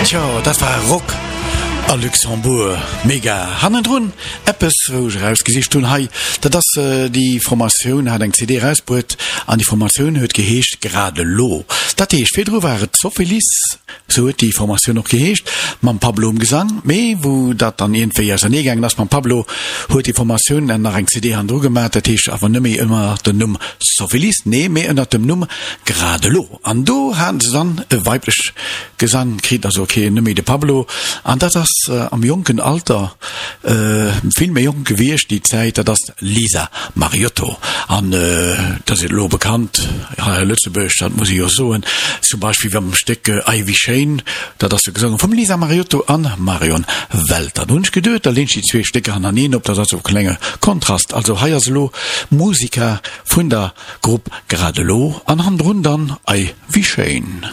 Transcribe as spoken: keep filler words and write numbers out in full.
Tjo, dat war Rock a Luxembourg. Mega. Hannendrun eppes, wou ech erausgesicht hunn hei, dat ass déi Formatioun hat eng C D erausbruet an déi Formatioun huet geheescht Grad elo. Dat heescht, virdru war et Sophilis, sou huet déi Formatioun och geheescht, mam Pablo um Gesang, mee wou dat dann iergendwéi ausernee gaangen ass mam Pablo, huet déi Formatioun dann nach eng C D hannendru gemaach, dat heescht awer net méi ënner dem Numm Sophilis, nee, mee ënner dem Numm Grad elo. An do haten se dann e weiblech Gesang kritt, also ok, net méi de Pablo, an dat ass am jonken Alter, vill méi jonk gewiescht déi Zäit, dat ass d'Lisa Mariotto. An dat ass elo bekannt hei a Lëtzebuerg, dat muss ee jo soen, zum Beispill mam Stéck Ei wéi schéin, dat ass jo gesongen vum Lisa Mariotto an Marion Welter. Do hunn ech geduet, da leen ech déi zwee Stécker hannereen op, dat ass e klenge Kontrast. Also hei ass elo Musica vun der Grupp Grad elo an hannendrun dann Ei wéi schéin.